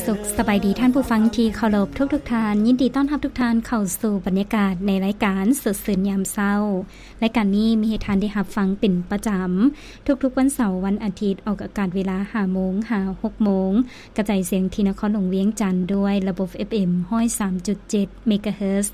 ສຸກສະບາຍດີທ່ານຜູ້ຟັງທີ່ເຄົາລົບທຸກໆທ່ານ, ຍິນດີຕ້ອນຮັບທຸກທ່ານເຂົ້າສູ່ບັນຍາກາດໃນລາຍການສົດຊື່ນຍາມເຊົ້າ. ລາຍການນີ້ມີໃຫ້ທ່ານໄດ້ຮັບຟັງເປັນປະຈຳ ທຸກໆວັນເສົາ, ວັນອາທິດ, ອອກອາກາດເວລາຫ້າໂມງຫາຫົກໂມງ, ກະຈາຍສຽງທີ່ນະຄອນຫຼວງວຽງຈັນ ດ້ວຍລະບົບ ເອັຟເອັມ ຮ້ອຍສາມຈຸດເຈັດ ເມກາເຮີດ.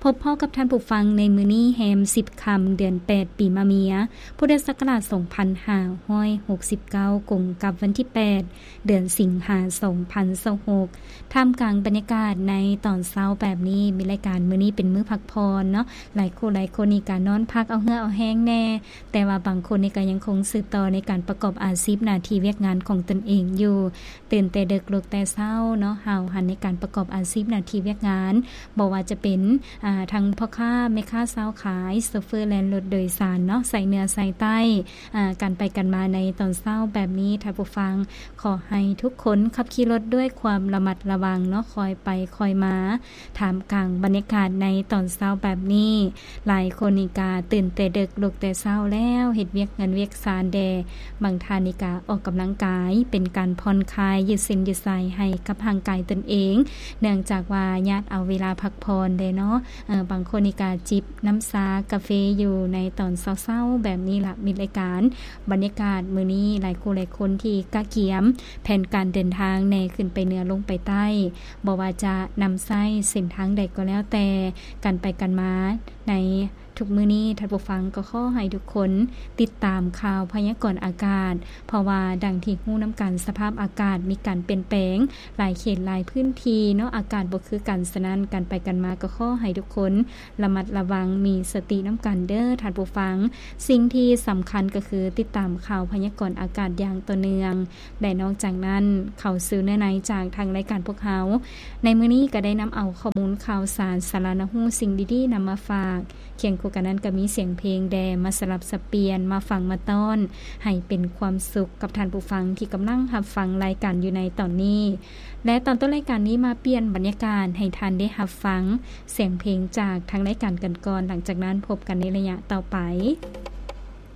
ພົບພໍ້ກັບທ່ານຜູ້ຟັງໃນມື້ນີ້ແຮມສິບຄ່ຳ ເດືອນແປດ ປີມະເມຍ ພຸດທະສັກກະລາດສອງພັນຫ້າຮ້ອຍຫົກສິບເກົ້າ ກົງກັບວັນທີແປດ ເດືອນສິງຫາ ສອງພັນຊາວຫົກ ທ່າມກາງບັນຍາກາດໃນຕອນເຊົ້າແບບນີ້. ມີລາຍການມື້ນີ້ເປັນມື້ພັກຜ່ອນເນາະ, ຫຼາຍຄູ່ຫຼາຍຄົນນີ້ກະນອນພັກເອົາເຫື່ອເອົາແຮງແດ່, ແຕ່ວ່າບາງຄົນນີ້ກະຍັງຄົງສືບຕໍ່ໃນການປະກອບອາຊີບໜ້າທີ່ວຽກງານຂອງຕົນເອງຢູ່. ຕື່ນແຕ່ເດິກ ລຸກແຕ່ເຊົ້າເນາະ, ຫ້າວຫັນໃນການປະກອບອາຊີບໜ້າທີ່ວຽກງານ, ບໍ່ວ່າຈະເປັນ ອາ ທັງພໍ່ຄ້າແມ່ຄ້າຊາວຂາຍ, ໂຊເຟີແລ່ນລົດໂດຍສານເນາະ, ໃສ່ເໜືອໃສ່ໃຕ້ ອາ ການໄປກັນມາໃນຕອນເຊົ້າແບບນີ້. ທ່ານຜູ້ຟັງ, ຂໍໃຫ້ທຸກຄົນຂັບຂີ່ລົດດ້ວຍຄວາມລະມັດລະວັງເນາະ, ຄ່ອຍໄປຄ່ອຍມາ. ທ່າມກາງບັນຍາກາດໃນຕອນເຊົ້າແບບນີ້, ຫຼາຍຄົນນີ້ກະຕື່ນແຕ່ເດິກ ລຸກແຕ່ເຊົ້າແລ້ວ, ເຮັດວຽກເຮືອນວຽກຊານແດ່. ບາງທ່ານນີ້ກະອອກກຳລັງກາຍ ເປັນການຜ່ອນຄາຍ ຢືດເສັ້ນຢືດສາຍໃຫ້ກັບຮ່າງກາຍຕົນເອງ, ເນື່ອງຈາກວ່າຍາດເອົາເວລາພັກຜ່ອນແດ່ເນາະ. ເອີ ບາງຄົນນີ້ກະຈິບນ້ຳຊາກາເຟຢູ່ໃນຕອນເຊົ້າໆແບບນີ້ລະ. ມີລາຍການບັນຍາກາດມື້ນີ້, ຫຼາຍຄູ່ຫຼາຍຄົນທີ່ກະກຽມແຜນການເດີນທາງແດ່ ຂຶ້ນໄປເໜືອ ລົງໄປໃຕ້, ບໍ່ວ່າຈະນຳໃຊ້ເສັ້ນທາງໃດກໍແລ້ວແຕ່, ການໄປກັນມາໃນ ທຸກມື້ນີ້ ທ່ານຜູ້ຟັງກໍຂໍໃຫ້ທຸກຄົນຕິດຕາມຂ່າວພະຍາກອນອາກາດ, ເພາະວ່າດັ່ງທີ່ຮູ້ນຳກັນ, ສະພາບອາກາດມີການປ່ຽນແປງ ຫຼາຍເຂດຫຼາຍພື້ນທີ່ເນາະ, ອາກາດບໍ່ຄືກັນ. ສະນັ້ນ, ການໄປກັນມາກໍຂໍໃຫ້ທຸກຄົນລະມັດລະວັງ, ມີສະຕິນຳກັນເດີ້ທ່ານຜູ້ຟັງ. ສິ່ງທີ່ສຳຄັນກໍຄືຕິດຕາມຂ່າວພະຍາກອນອາກາດຢ່າງຕໍ່ເນື່ອງ. ແລະ ນອກຈາກນັ້ນ, ເຂົ້າສູ່ເນື້ອໃນຈາກທາງລາຍການພວກເຮົາ, ໃນມື້ນີ້ກໍໄດ້ນຳເອົາຂໍ້ມູນຂ່າວສານ, ສາລະໜ້າຮູ້, ສິ່ງດີໆນຳມາຝາກ. ຄຽງຄູ່ກັນນັ້ນກໍມີສຽງເພງແດ່ ມາສະຫຼັບສັບປ່ຽນ, ມາຟັງມາຕ້ອນ ໃຫ້ເປັນຄວາມສຸກກັບທ່ານຜູ້ຟັງທີ່ກຳລັງຮັບຟັງລາຍການຢູ່ໃນຕອນນີ້. ແລະ ຕອນຕົ້ນລາຍການນີ້ ມາປ່ຽນບັນຍາກາດໃຫ້ທ່ານໄດ້ຮັບຟັງສຽງເພງຈາກທາງລາຍການກັນກ່ອນ, ຫຼັງຈາກນັ້ນພົບກັນໃນໄລຍະຕໍ່ໄປ.